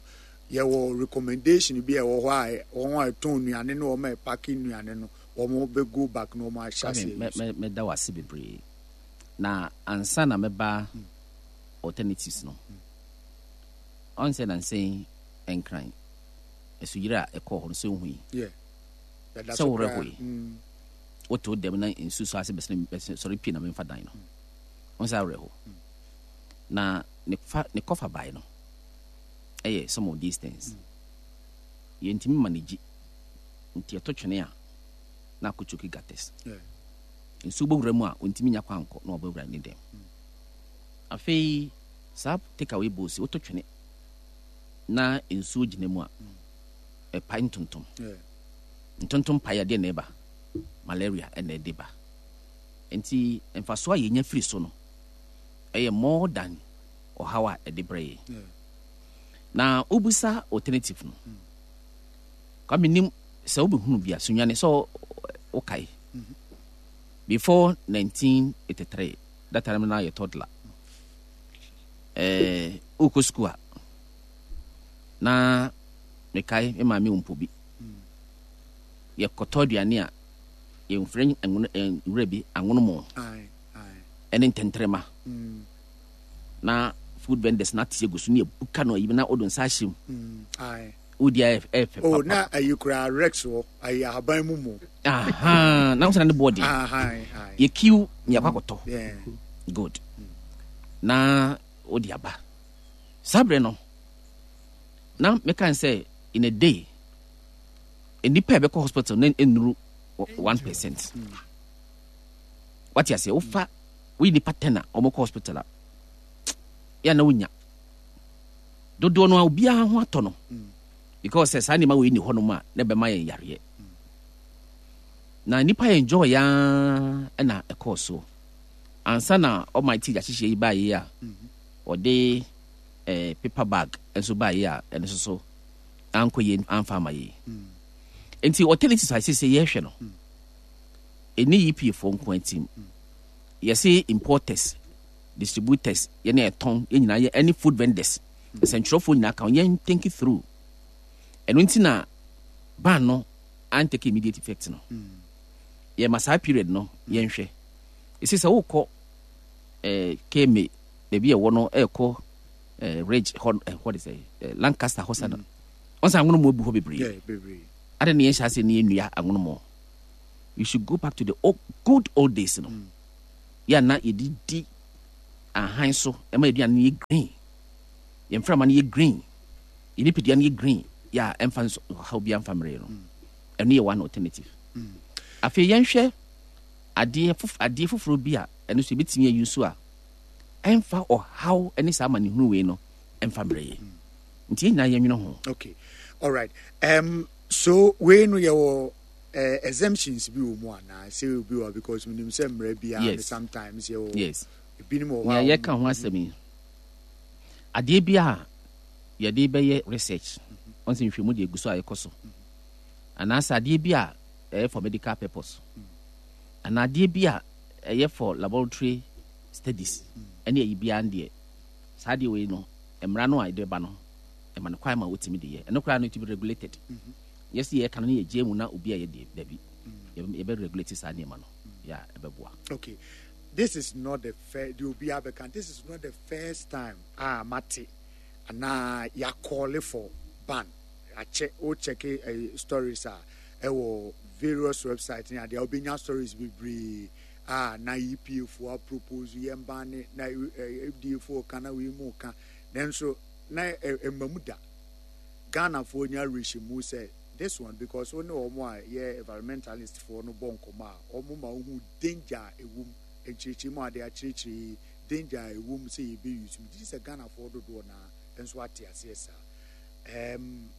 yɛwɔ recommendation bi a ɛwɔ hɔ a wɔn a ɛtɔn nnuane no, wɔn a ɛpack nnuane no, wɔn bɛ go back na wɔn ahyɛ aseɛ? Mɛda wo ase bebree. Na ansa na mɛba alternatives no, ɔn sɛ nansɛn Nkran asuyire a ɛkɔɔ hɔ no, sɛ wohu yi sɛ worɛ hɔ yi, wote wo dɛm na nsu so ase bɛsene sɔre pie na memfa dan no ɔn sɛ awerɛ hɔ na ne fa ne kɔfa bae no ɛyɛ some of these things yɛntumi manage. Nti ɛto twene a na akɔchoke gutters, nsuo bɔwura mu a ɔntumi nya kwan nkɔ na ɔbɛwura ne dɛm. Afei saa take away bowls, woto twene na nsuo gyina mu a, ɛpae ntontom. Ntontom pae adeɛ na ɛba malaria ɛna ɛde ba. Nti mfasoɔ a yɛnya firi so no ɛyɛ more than ɔhaw a ɛde brɛ yɛ. Na wobisa alternative no, Kwame, nim sɛ wobɛhunu bi a Sunyani sɛ wokae before nineteen eighty-three, that time na yɛ toddler, eh, wokɔ school a, na mekae me maame wɔ mpo bi, yɛkɔtɔ aduane a yɛmfrɛ nwura bi anwonomo ɛne ntɛntrɛma na food vendors na ate agu so ne yɛbuka no ayi na wode nsa ahyɛ mu wodi a, ɛyɛ fɛ. Oh, na ayi koraa rex wɔ ayi ahaban mu mu. Na wosana ne boɔ den, yɛkiw ne yɛkɔ akɔtɔ good na wode aba. Saa berɛ no na meka sɛ in a day nnipa a ɛbɛkɔ hospital na ɛnnuru one percent. Wate aseɛ? Wofa woyi nipa ten a wɔkɔ hospital a, yɛ na wonya dodoɔ no a obiara ho atɔ no, because sɛ saa nneɛma wei ni hɔnom a na ɛbɛma yɛn yareɛ na nipa yɛn enjoy yaa. Ɛna ɛkɔɔ so ansa na Almighty ahyehyɛ yi baayɛ a ɔde ɛɛ paper bag nso baayɛ a, ɛno nso so ankɔ yie amfa ama yie. Nti alternatives a sɛ yɛhwɛ no, ɛni E P A foɔ nko atim. Yɛse importers, distributors, yɛne ɛtɔn yɛn nyinaa yɛ ɛne food vendors, nsɛntwerɛfoɔ nyinaa ka yɛn think through. Ɛno nti na ban no An take immediate effect no, yɛma saa period no yɛnhwɛ. Ɛsi sɛ wokɔ eh, K M A baabi a ɛwɔ no, ɛkɔ eh, Ridge hɔ, eh, hɔ de sɛ eh, Lancaster hɔ sa no, ɔn sɛ anwono mu abu hɔ bebree. Yeah, bebree. Ade ne yɛnhyɛ ase ne yɛnnua anwono mu. You should go back to the old, good old days no. Yɛ na yɛde di ahan so ɛma aduane no yɛ green, yɛn mframa no yɛ green, yɛn nipadua no yɛ green, yɛ a ɛmfa nso ɔhaw bi amfa mmerɛ no. Ɛno yɛ one alternative. Afei yɛnhwɛ adeɛ fof adeɛ foforɔ bi a ɛno nso yɛbɛtumi ayi so a ɛmfa ɔhaw ne saa amanehunu wei no ɛmfa mmerɛ yɛ. Nti yɛn nyinaa yɛnwene ho. Okay, all right. um, so wei no yɛwɔ uh, exemptions bi wɔ mu anaa sɛ obi wɔ, because menim sɛ mmerɛ biara no Yes. sometimes yɛwɔ Yes. ebinom wɔ hɔ a Nea yɛka ho asɛm yi, adeɛ bi a yɛde bɛyɛ research, ɔn sɛ nhwɛmu deɛ egu so a yɛkɔ so, anaasɛ adeɛ bi a ɛyɛ for medical purpose, anaa adeɛ bi a ɛyɛ for laboratory studies, ɛne ɛyi biara no deɛ, saa adeɛ wei no, mmara no a yɛde ba no ɛma no kwan ma wotumi de yɛ. Ɛno koraa no, it be regulated. Yɛsi yɛka no ne yɛgye mu na obi a yɛ deɛ dabi, yɛbɛ regulate saa nneɛma no yɛ a ɛbɛboa. Okay, this is not the first, the obi abɛka, this is not the first time a mate anaa yɛa call for ban. Akyɛ o, check uh, stories a ɛwɔ various websites ne adeɛ a, wobɛnya stories bebree a na E P A foɔ a propose yɛn ban ne na F D A foɔ ka na wei mu ka, nanso na ɛma mu da. Ghanafoɔ nya awerɛhyɛmu sɛ this one, because wo ne wɔn a yɛ environmentalist foɔ no bɔ nkɔmɔ a, wɔn ma wohu danger a ɛwɔ mu, nkyerɛkyerɛ mu a de akyerɛkyerɛ yi, danger a ɛwɔ mu sɛ yɛbɛyi so. Megye sɛ Ghanafoɔ dodoɔ naa nso ate aseɛ saa. um,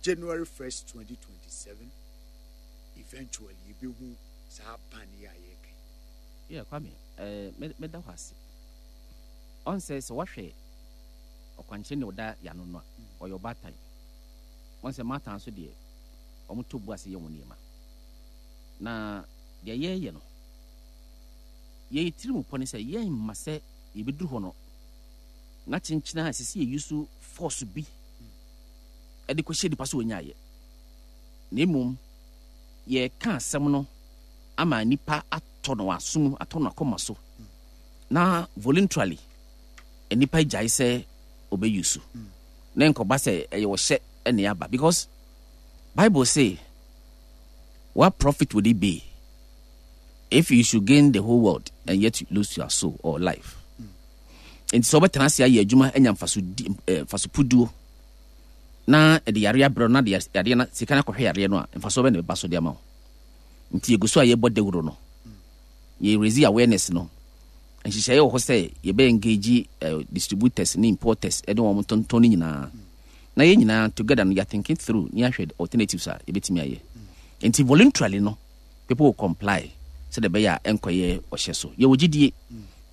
January first twenty twenty-seven, eventually yɛbɛhu saa ban yi a yɛreka yi. Yeah, Kwame, eh, mɛda hɔ ase. Ɔn sɛ sɛ woahwɛ ɔkwankyerɛ ne ɔda yano no a, ɔyɛ ɔbaatan. Ɔn sɛ maatan so deɛ, ɔmo to bu ase yɛ wɔn nneɛma. Na deɛ yɛreyɛ no, yɛyɛ tiri mu pɔ ne sɛ yɛmma sɛ yɛbɛduru hɔ no na kyenkyena a ɛsɛ sɛ yɛyi so force bi ɛde kɔhyɛ nipa so wɔnyaayɛ, na mmom yɛka asɛm no ama nipa atɔ no asom, atɔ no akɔma so, na voluntarily nipa gyae sɛ ɔbɛyi so, na nkɔba sɛ ɛyɛ ɔhyɛ ɛne aba, because Bible say, "What profit would it be if you should gain the whole world and yet you lose your soul or life?" Nti sɛ wobɛtena ase ayɛ adwuma anya mfaso di eh, mfaso puduo na ɛde yare abrɛ no, na de yareɛ na sika no akɔhwɛ yareɛ no a, mfasoɔ bɛ na ɛbɛba so de ama wo? Nti yɛgu so a yɛbɔ dawuro no, yɛ raise awareness no. Nhyehyɛeɛ wɔ hɔ sɛ yɛbɛ engage uh, distributors ne importers ɛne wɔn tontɔn no nyinaa, na yɛn nyinaa together no, yɛ thinking through ne ahwɛ alternatives a yɛbɛtumi ayɛ. Nti voluntarily no, people will comply sɛdeɛ ɛbɛyɛ a ɛnkɔyɛ ɔhyɛ so. Yɛwɔ gyidie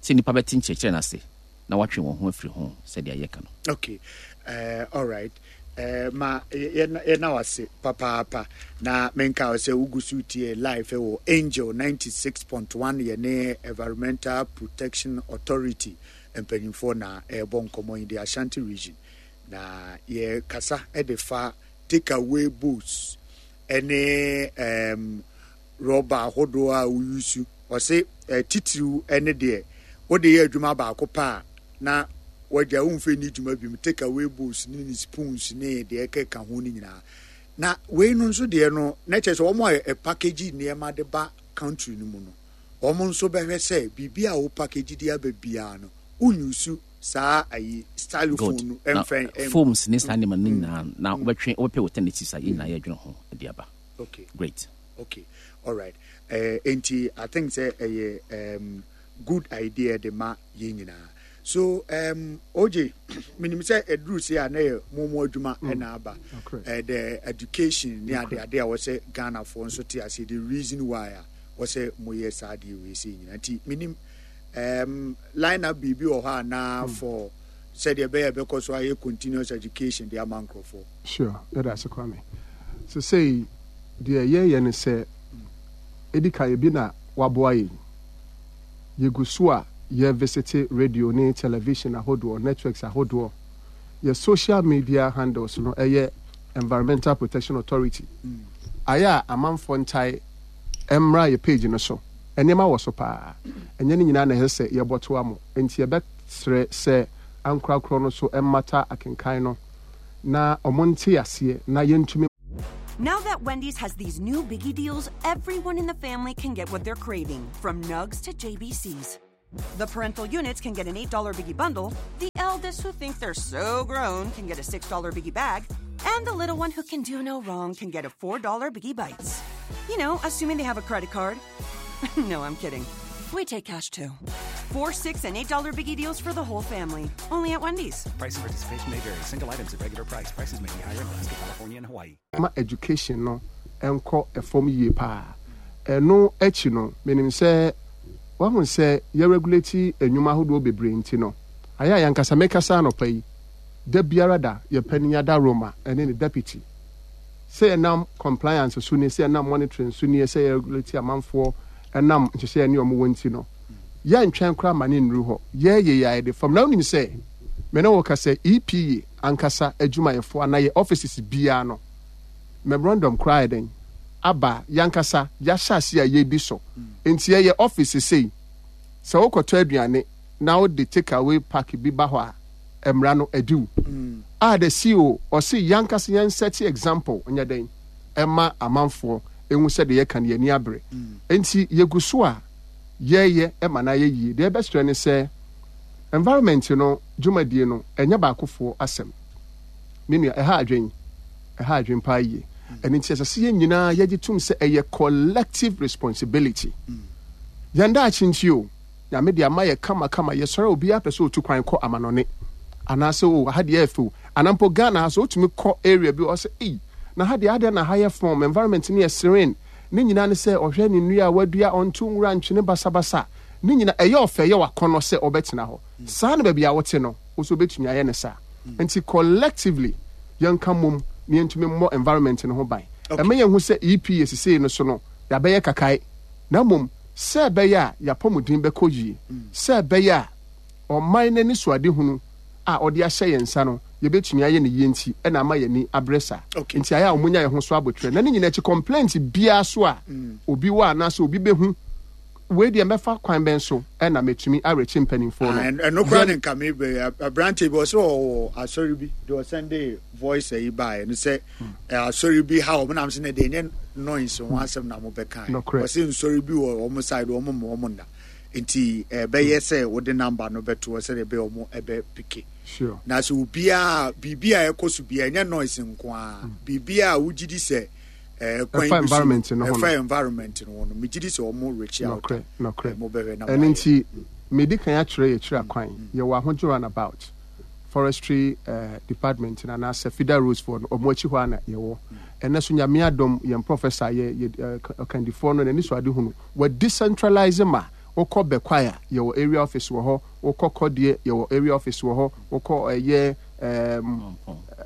sɛ nnipa bɛte nkyerɛkyerɛ no ase na watwe wɔn ho afiri ho sɛdeɛ yɛka no. Okay, uh, all right. uh, ma yɛna wase papaapa na menka wo sɛ wogu so tie live wɔ Angel ninety-six point one. Yɛne Environmental Protection Authority mpanyimfoɔ na ɛrebɔ nkɔmmɔ yi, the Ashanti Region, na yɛkasa de fa take away bowls ɛne um, rɔba ahodoɔ a woyusu. Ɔse eh, titiriw ne deɛ wode yɛ adwuma baako pa a na wagya womfɛ ni dwuma bi mu, take away bowls ne ne spoons ne deɛ ɛkeka ho no nyinaa. Na wei no nso deɛ no, na kyerɛ sɛ wɔn a package nneɛma de ba country no mu no, wɔn nso bɛhwɛ sɛ biribi a wo package de aba biara no, wonyusu saa ayi styrofoam no ɛmfɛn. Foams ne saa nneɛma no nyinaa na wobɛtwe, wobɛpɛ alternatives a yɛn nyinaa yɛdwene ho de aba. Okay. Great. Okay, all right. uh, nti I think sɛ ɛyɛ um, good idea de ma yɛn nyinaa. So um, O J, menim sɛ ɛduru se a na yɛ momo adwuma ɛna aba, uh, the education ne ade ade a wɔsɛ Ghanafoɔ nso te ase, the reason why a wɔsɛ moyɛ saa adeɛ wei sɛ nyinaa. Nti menim um, line up biribi wɔ hɔ anaa mm. for sɛdeɛ ɛbɛyɛ ɛbɛkɔ so ayɛ continuous education de ama nkurɔfoɔ? Sure, yɛda ase, Kwame. So sei deɛ yɛyɛ ne sɛ, ɛdi ka ebi na waboa yɛn. Yɛgu so a yɛ visit radio ne television ahodoɔ, networks ahodoɔ. Yɛ social media handles no ɛyɛ Environmental Protection Authority. mm. Ayɛ a amanfoɔ ntae mmra yɛ page no so. Nneɛma wɔ so paa. Ɛnyɛ ne nyinaa na ɛsɛ sɛ yɛbɔ toa mo. Enti yɛbɛsrɛ sɛ ankorakorɔ no so mmata akenkan no na wɔnte aseɛ na yɛntumi. Now that Wendy's has these new biggie deals, everyone in the family can get what they're craving, from nugs to J B Cs. The parental units can get an eight dollar Biggie Bundle, the eldest who think they're so grown can get a six dollar Biggie Bag, and the little one who can do no wrong can get a four dollar Biggie Bites. You know, assuming they have a credit card. No, I'm kidding. We take cash too. Four, six, and eight dollar Biggie deals for the whole family. Only at Wendy's. Price and participation may vary. Single items at regular price. Prices may be higher in Alaska, California, and Hawaii. Ma education no nkɔ fam yie paa. Ɛno akyi no, menim sɛ wahu sɛ yɛ regulate nnwuma ahodoɔ bebree nti no, ayɛ a yɛankasa mekasa anɔpa yi, da biara da yɛ panin ada Roma ɛne ne deputy sɛ yɛnam compliance so nie, sɛ yɛnam monitoring so nie, sɛ yɛ regulate amanfoɔ ɛnam nhyehyɛ ne ɔmo wɔ nti no, yɛntwɛn koraa ma ne nnuru hɔ. Yɛyɛ yɛ ayɛ de fam na wonim sɛ me ne wo ka sɛ E P A ankasa adwumayɛfoɔ anaa yɛ offices biara no, memorandum koraa yɛ dɛn aba, yankasa yɛahyɛ ase a yɛdi so. Nti yɛyɛ office sei sɛ wokɔtɔ aduane na wode take away pack bi ba hɔ a, mmara no adi wo a the C E O ɔse yankasa yɛn set example nyɛ dɛn ɛma amanfoɔ ehu sɛ deɛ yɛka no yɛni abere. Nti yɛgu so a yɛyɛ ɛma no ayɛ yie. Deɛ ɛbɛsrɛ ne sɛ environment no dwumadie no ɛnyɛ baakofoɔ asɛm. Me nua, ɛha adwen, ɛha adwen paa yie. Ɛno nti ɛsɛ sɛ yɛn nyinaa yɛgye tom sɛ ɛyɛ collective responsibility. Yɛn daakye nti o, Nyame de ama yɛ kamakama. Yɛsɔre a, obiara pɛ sɛ otu kwan kɔ amanɔne anaasɛ o ha deɛ ɛfɛ o, anaa mpo Ghana ha sɛ wotumi kɔ area bi, ɔsɛ ei, na ha deɛ adeɛ na ha yɛ fɔm, environment no yɛ serene. Ne nyinaa ne sɛ ɔhwɛ ne nnua a wadua, ɔnto nwura ntwene basabasa. Ne nyinaa ɛyɛ ɔfɛ, ɛyɛ wakɔnɔ sɛ ɔbɛtena hɔ saa. Na baabi a wote no, wo nso wobɛtumi ayɛ ne saa. Nti collectively yɛnka mmom na yɛntumi mmɔ environment no ho ban. Ɛma yɛnhu sɛ E P A sesei no so no yɛabɛyɛ kakae, na mmom sɛ ɛbɛyɛ a yɛapɔmuden bɛkɔ yie, sɛ ɛbɛyɛ a ɔman no ani so adehunu a ɔde ahyɛ yɛn nsa no yɛbɛtumi ayɛ ne yie nti ɛna ama yɛni abrɛ saa. Nti ayɛ a ɔmonya yɛn ho so abotwerɛ. Na ne nyinaa akyi, complaint biara so a obi wɔ anaasɛ obi bɛhu wei deɛ, mɛfa kwan bɛn so ɛna mɛtumi arekye mpanimfoɔ no? Ɛno koraa ne nka mebɛ aberante bi ɔsɛ ɔwɔ asɔre bi deɛ ɔsɛnde voice ayi baeɛ no sɛ asɔre bi ha ɔmo nam sɛ ne deɛ ɛnyɛ noise ho asɛm na mobɛka. Ɔsɛ nsɔre bi wɔ ɔmo side, ɔmo ma ɔmo nna. Nti ɛbɛyɛ sɛ wode number no bɛto hɔ sɛdeɛ ɛbɛyɛ ɔmo ɛbɛ pick. Na sɛ obiara biribi a ɛkɔ so biara, ɛnyɛ noise nko ara, biribi a wogye di sɛ ɛfa environment no ho. Ɛfa environment no ho no, megye di sɛ ɔmo reach out. Nɔkorɛ, nɔkorɛ. Mo bɛhwɛ na ɛno nti medi kan akyerɛ yɛkyerɛ akwan. Yɛwɔ Ahodwo roundabout, forestry uh, department no anaasɛ feeder roads foɔ no ɔmo akyi hɔ a na yɛwɔ. Ɛnɛ so Nyame adom, yɛn professor yɛ yɛ ɔkandifoɔ no n'ani so ade hunu, wɔ decentralize ma wokɔ Bɛkwae a, yɛwɔ area office wɔ hɔ, wokɔ Kɔdeɛ, yɛwɔ area office wɔ hɔ, wokɔ ɛyɛ um,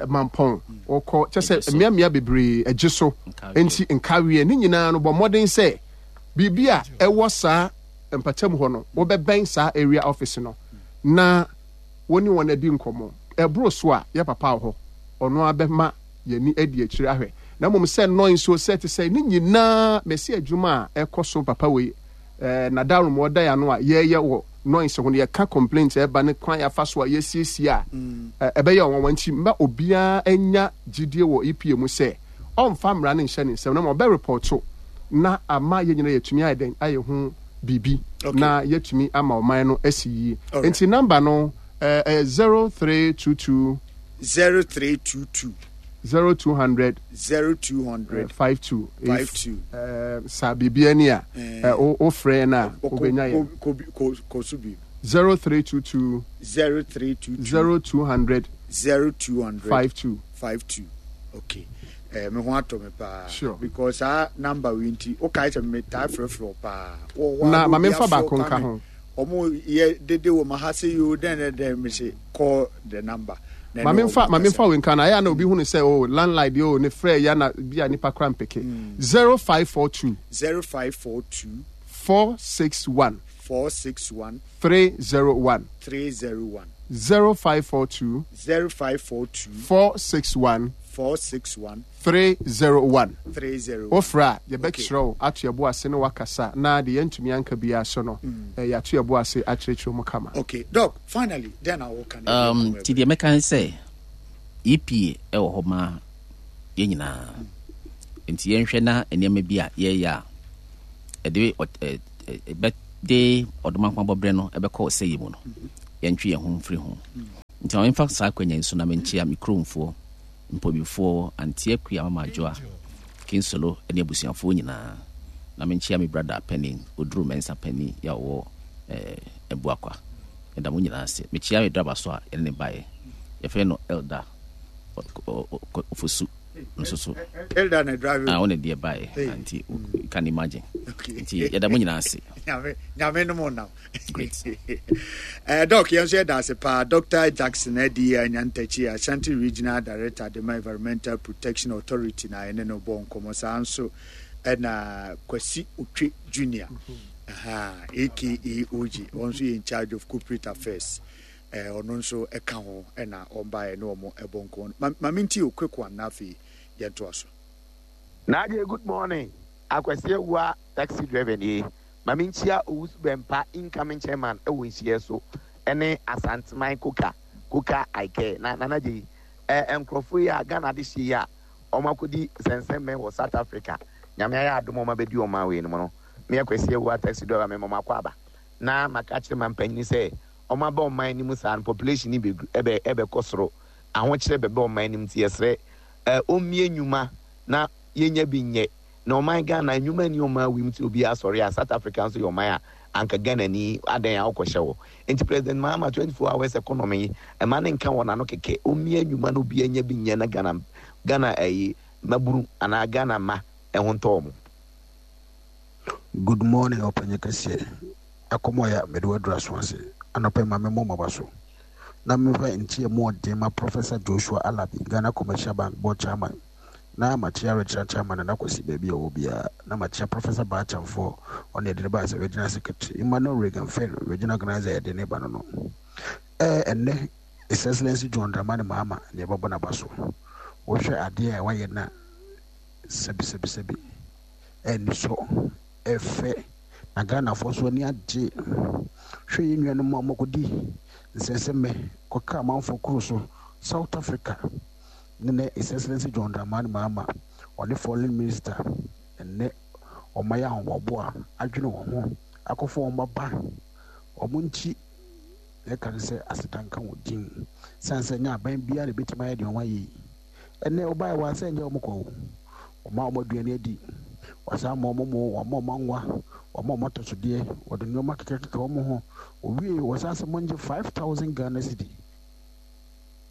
Mampɔn, wokɔ kyɛ sɛ mmeammea bebree agye so. Nti nkaweɛ ne nyinaa no, bɔ mmɔden sɛ biribi a ɛwɔ saa mpatam hɔ no, wobɛbɛn saa area office no na wo ne wɔn adi nkɔmmɔ. Ɛboro so a, yɛ papa wɔ hɔ, ɔno ara bɛma yɛni adi akyire ahwɛ. Na mmom sɛ noise o, sɛ te sɛ ne nyinaa, mɛsi adwuma a ɛkɔ so papa wei ɛɛ nadarom ɔda yɛ ano a yɛyɛ wɔ noise ho no, yɛka complaint ɛba ne kwan yɛafa so a yɛsiesie a ɛbɛyɛ ɔnwanwa. Nti mma obiara anya gyidie wɔ E P A mu sɛ ɔmfa mmara no nhyɛ ne nsam, na ma ɔbɛ report na ama yɛn nyinaa yɛtumi ayɛ dɛn ayɛ ho biribi na yɛtumi ama ɔman no asi yie. Nti number no ɛyɛ zero three two two zero three two two zero two hundred zero two hundred five two. five two. Sa biribi ani a wofrɛ no a, wobɛnya yɛn. Kɔ so bi. zero three two two zero three two two zero two hundred zero two hundred five two. five two. Okay, eh, me ho atɔ me paa. Sure. Because saa number wei nti wokae sɛ metaa frɛfrɛ wo paa. Wɔ hɔ a Na ma obi memfa afrɛ baako wo nka Kwame. ho. Ɔmo yɛ dede wɔ ma ha sɛ yo dɛn dɛn dɛn, me se call the number na ma ɛne memfa ɔmo ma kasa. Memfa wei nka no. Ayɛ a na obi hu no sɛ o landline deɛ o ne frɛ ya na bi a nipa kora mpeke. zero five four two zero five four two four six one four six one three zero one three zero one zero five four two zero five four two four six one four six one three zero one three zero. Wofrɛ a, yɛbɛkyerɛ wo ato yɛbo ase ne wakasa na deɛ yɛntumi anka biara so no, Mm. eh, yɛato yɛbo ase akyerɛkyerɛ mu kama. Okay, Doc, finally, then I will can. Um, nti deɛ mɛka ne sɛ E P A ɛwɔ hɔ ma yɛn nyinaa, nti yɛnhwɛ na nneɛma bi a yɛreyɛ a ɛde ɔ- ɛ- ɛ- ɛbɛde ɔdomankoma no ɛbɛkɔ ɔsɛyɛ mu no, yɛntwe yɛn ho mfiri ho. Nti ma memfa saa akwanya yi so na menkyea me kuromfoɔ, mpɔbifoɔ, Anteɛ Kua, Mama Adwoa Kinsolo ne abusuafoɔ nyinaa, na menkyea me brother panin Oduru Mɛnsa panin yɛ a ɔwɔ eh, Abuakwa. Ɛda mo nyinaa ase. Mekyea me driver so a yɛne ne baeɛ, yɛfrɛ no Elder Ofosu nso so. Elder na drive. Ah, wone deɛ baeɛ. Hey. Nti you can imagine. Okay. Nti yɛda mo nyinaa ase. Nyame, Nyame no mo nam. Great. uh, Doc, yɛn nso yɛda ase paa. Doctor Jackson Adi Nyantakyi, Ashanti Regional Director de ma Environmental Protection Authority na ɛne no bɔ nkɔmmɔ. Saa nso ɛna Kwasi Otwe Junior, aha, aka O G, ɔno nso yɛ in charge of corporate affairs. Eh, ɔno nso ɛka ho ɛna ɔmbaeɛ ne ɔmo ɛbɔ nkɔmmɔ. Ma ma menti o, quick one, na afei yɛntoa so. Naagye, good morning. Akwasi Awua taxi driver nie. Maame, nkyia Owusu Bɛmpa, incoming chairman ɛwɔ nhyia so, ɛne Asanteman Koka Koka Aike na Nanagye yi ɛ nkurɔfoɔ yi a Ghana de hyɛ yi a wɔn akɔdi sɛnsɛmmɛn wɔ South Africa. Nyame ayɛ adom, wɔn abɛdi ɔman wei no mu no, me Akwasi Awua taxi driver, me mɔmɔ akɔ aba na maka kyerɛ ma mpanyin sɛ wɔn aba ɔman no mu saa no, population ni bɛ ɛbɛ ɛbɛkɔ soro, ahokyerɛ bɛbɛ ɔman no mu, nti yɛsrɛ ɛ ɔmmie nnwuma na yɛnya bi nyɛ na ɔman Ghana nnwuma ni ɔman wim ti obi asɔre a South Africa nso yɛ ɔman a anka Ghana ni adan a ɔkɔhyɛ wɔ. Nti President Mahama twenty four hours economy yi, ɛma ne nka wɔ n'ano kɛkɛ, ɔmmie nnwuma na obi anya bi nyɛ na Ghana Ghana ɛyi maburu anaa Ghana ma ɛho ntɔɔ mo. Good morning, ɔpanyin kɛseɛ. Akɔmɔya mede wadura so ase anɔpɛ ma memmɔ mmaba so na memfa nkyia mu ɔden ma Professor Joshua Alabi, Ghana Commercial Bank Board Chairman, na makyia Regional Chairman Nana Kwasi baabi a ɔwɔ biara, na makyia Professor Baachamfoɔ, ɔne yɛde ne ba sɛ Regional Secretary, Emmanuel Reagan Fer, Regional Organizer, yɛde ne ba no no ɛɛ ɛnnɛ His Excellency John Dramani Mahama ne yɛbɛbɔ n'aba so. Wohwɛ adeɛ a wayɛ na sɛbisɛbisɛbi ɛni so ɛfɛ na Ghanafoɔ nso ani agye. Hwɛ yɛn nuanom a wɔkɔdi nsɛnsɛmmɛ kɔka amanfoɔ kuro so South Africa ne ne His Excellency John Dramani Mahama, ɔne foreign minister, ɛnɛ ɔma yɛ ahoboaboa adwene wɔn ho akɔfo wɔn baba wɔn nkyi. Yɛka ne sɛ aseda nka wɔn din san sɛ nyɛ aban biara na ebɛtumi ayɛ deɛ wɔn ayɛ yi. Ɛnɛ ɔbaa wɔ asɛ nyɛ wɔn kɔ o, ɔma wɔn aduane adi, wasan ma wɔn mo, wɔma wɔn anwa, wɔma wɔn atɔsodeɛ, wɔde nneɛma kekakeka wɔn ho. Owie, wɔsan sɛ wɔngye five thousand Ghana cedi.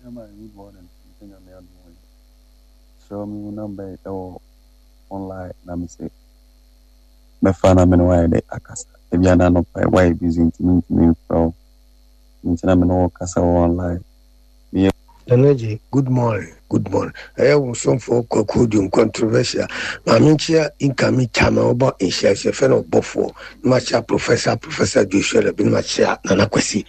Yeah, good morning. Nti Nyame adom yi. So me wo number yi ɛwɔ online na me sɛ mɛfa na me ne wayɛ dɛ akasa. Ebi ana anɔpa yi wayɛ busy nti mentumi mfrɛ wo. Nti na me ne wo kasa wɔ online. Meyɛ Nanaji, good morning, good morning. Ɛyɛ wo somfoɔ Kwaku Dum controversial. Maame, nkyia incoming chairman wɔbɔ nhyia sɛ fɛ no ɔbɔfoɔ. Na makyia Professor Professor Joshua Labi, na makyia Nana Kwasi.